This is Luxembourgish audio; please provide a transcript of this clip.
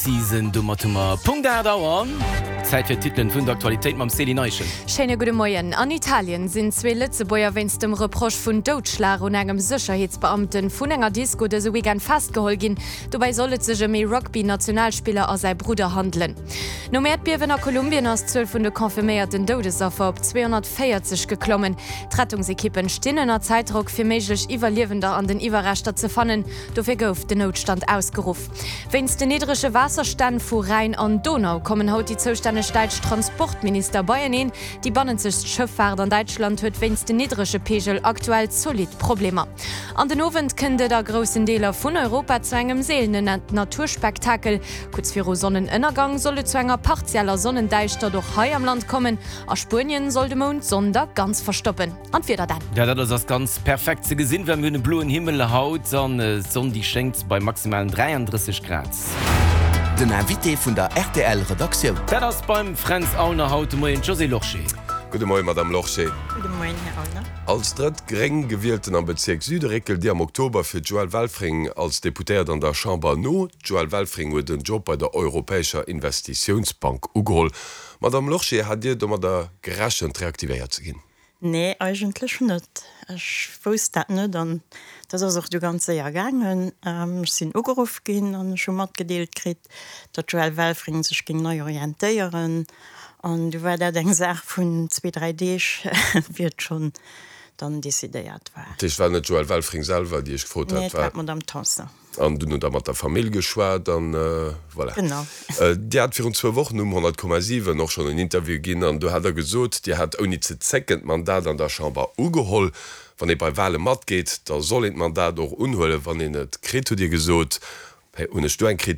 Season. Domat hu mer Punkt 8 Auer. Zäit fir d'Titelen vun der Aktualitéit mam Céline Eischen. Schéine gudde Moien. An Italien sinn zwee Lëtzebuerger wéinst dem Reproche vun Doudschlag un engem Sécherheetsbeamten vun enger Disco dëse Weekend festgeholl ginn. Dobäi soll et sech ëm ee Rugby-Nationalspiller a säi Brudder handelen. Nom Äerdbiewen a Kolumbien ass d'Zuel vun de confirméierten Doudesaffer op 240 geklommen. D'Rettungsekippen stinn ënner Zäitdrock, fir méiglech Iwwerliewender an den Iwwerreschter ze fannen. Dofir gouf den Noutstand ausgeruff. Wéinst den niddrege Waasserstänn vu Rhäin an Donau kommen haut déi zoustänneg däitsch Transportminister beieneen. Déi bannenzegst Schëffaart an Däitschland huet wéinst den niddrege Peegel aktuell zolidd Problemer. An den Owend kënnt et a groussen Deeler vun Europa zu engem seelenen Naturspektakel. Kuerz viru Sonnenënnergang soll et zu enger partieller Sonnendäischtert och hei am Land kommen. A Spuenien soll de Mound d'Sonn da ganz verstoppen. An d'Wieder dann? Ja, dat ass ass ganz perfekt ze gesinn, well mir hunn e bloen Himmel haut an d'Sonn déi schéngt bei maximalen 33 Grad. Den Invité vun der rtl Redaktioun. Dat ass beim Fränz Aulner haut de Moien d'Josée Lorsché. Gudde Moien, Madame Lorsché. Gudde Moien, Här Aulner. Als drëtt gréng Gewielten am Bezierk Süde réckelt Dir am Oktober fir d'Joëlle Welfring als Deputéiert an der Chamber no. D'Joëlle Welfring huet en Job bei der Europäescher Investitiounsbank ugeholl. Madame Lorsché, hat Dir domadder gerechent, reaktivéiert ze ginn? Nee, eigentlech net. Ech wousst dat net an dat ass och du ganz séier gaangen. Ech sinn ugeruff ginn an ech hu matgedeelt kritt, datt d'Joëlle Welfring sech géing nei orientéieren. An du war dat eng Saach vun zwee, dräi Deeg, wéi et schonn dann decidéiert war. Dat heescht, et war net d'Joëlle Welfring selwer, déi Iech gefrot hat? Nee, et war d'Madame Tanson. An dunn hutt Der mat der Famill geschwat an voilà. Genau. Dir hat virun zwou Wochen um 100,7 och schonn en Interview ginn an do hat Der gesot, Dir hätt ouni ze zécken d'Mandat an der Chamber ugeholl. Wann ee bei Wale matgeet, da soll een d'Mandat och unhuelen, wann een et kritt, hutt Dir gesot. Hunn ech do eng Kritik?